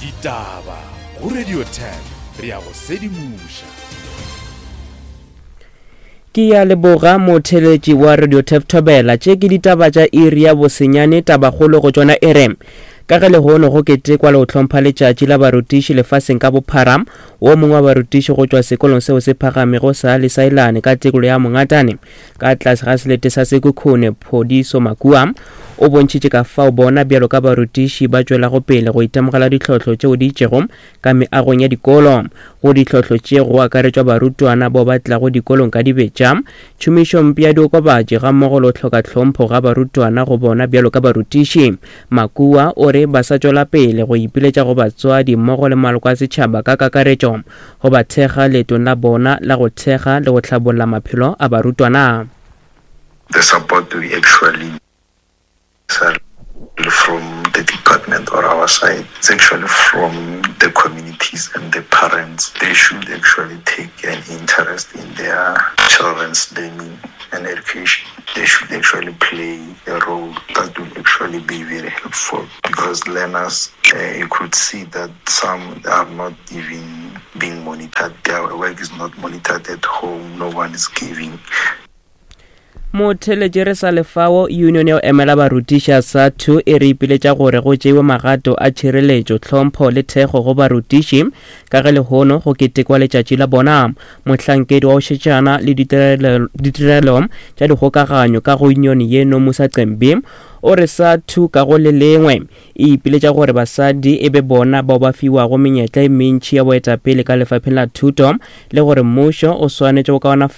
Ditaba go Radio 10 re a go sedimoša. Ke ya leboga motheletši wa Radio Tef Thobela. Tše ke ditaba tša iri ya bosenyane tabakgolo go tšona e re ka ge lehono go ketekwa le go hlompha letšatši la barutiši lefaseng ka bophara wo mongwe wa barutiši go tšwa sekolong seo se phagamego sa Lesailane ka tekolo ya Mongatane ka tlase ga selete sa Sekhukhune Phodiso Makua o bontšhitše ka fao bona bjalo ka barutiši ba tšwelago pele go itemogela ditlhohlo tšeo di itšego ka meagong ya dikolo. Go ditlhohlo tše go akaretšwa barutwana bao ba tlago dikolong ka dibetša, tšhomišompe ya diokobatši gammogo le go hloka tlhompho ga barutwana go bona bjalo ka barutiši. Makua o re ba sa tšwela pele go ipiletša go batswadi mmogo le maloko a setšhaba ka kakaretšo go ba thekga leetong la bona la go thekga le go hlabolla maphelo a barutwana. The support we actually from the department or our side, it's actually from the communities and the parents. They should actually take an interest in their children's learning and education. They should actually play a role that will actually be very helpful because learners, uh, you could see that some are not even being monitored. Their work is not monitored at home. No one is giving Motheletši re sa lefao, Union ya go emela barutiši ya SADTU e re ipiletša gore go tšeiwe magato a tšhireletšo, tlhompho le thekgo go barutiši ka ge lehono go ketekwa letšatši la bona. Mohlankedi wa go šetšana le ditirelo tša dikgokaganyo ka go union ye Nomusa Cembi o re SADTU ka go le lengwe e ipiletša gore basadi e be bona bao ba fiwago menyetla e mentši ya boetapele ka lefapheng la thuto le gore mmušo o swanetše go kaonafatša.